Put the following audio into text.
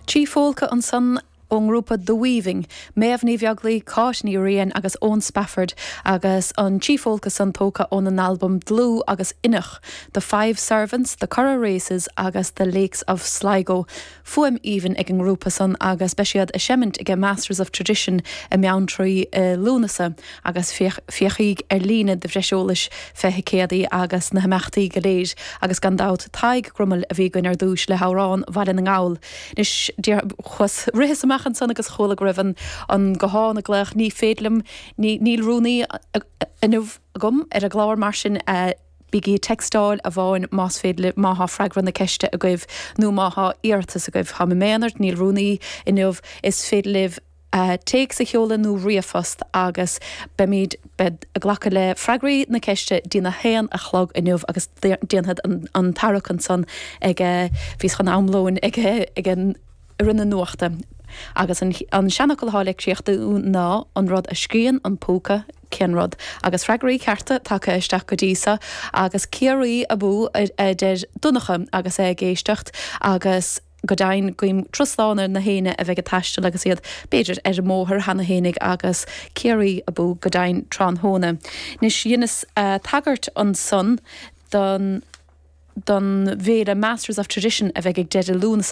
Chief Phólca ansan ón ngrúpa The Weaving, Méabh Ní Bheaglaoi, Cáit Ní Riain agus Eoin Spafford agus an Chief Phólca san tógtha óna n-albam Dlúth agus Inneach, The Five Servants, The Curragh Races agus The Lakes of Sligo. Fuaim aoibhinn ag an ngrúpa san agus beidh siad ag seimint ag Masters of Tradition i mBeanntraí i Lúnasa agus féachaíg ar líne do bhreis eolais fé thicéadaí agus na himeachtaí go léir agus gan dabht Tadhg Grummell a bhí againn ar dtúis le hamhrán Bhaile na nGall. Anois chuas, ritheas amach ansan agus chuala go raibh an an guthán ag glaoch ní féidir liom, ní níl rúnaí inniu agam ar an gclár mar sin Bígí ag textáil amháin más féidir libh, má thá freagra na ceiste agaibh nó má thá iarratas agaibh. Táim i m'aonar, níl rúnaí inniu. Is féidir libh téacs a sheoladh nó ríomhphost agus beimid, bead, ag glacadh le freagraí na ceiste dtí'n 1 a chlog inniu agus déanfad an tarrac ansan ag, bhíos chun am lóin ag, ag an. i rith na nuachta. Agus an seanfhocal atá le críochnú ná an rud a scríonn an púca, cén rud? Agus freagraí cearta tagtha isteach go dtí so agus Ciarraí abú a deir Donncha agus é ag éisteacht agus go deimhin guím turas slán ar na héinne a bheidh ag taisteal agus iad b'fhéidir ar an mbóthar cheana fhéinig agus Ciarraí abú go deimhin tráthnóna. Anois dheineas tagairt ansan don don bhféile Masters of Tradition a bheidh ag deireadh Lúnasa.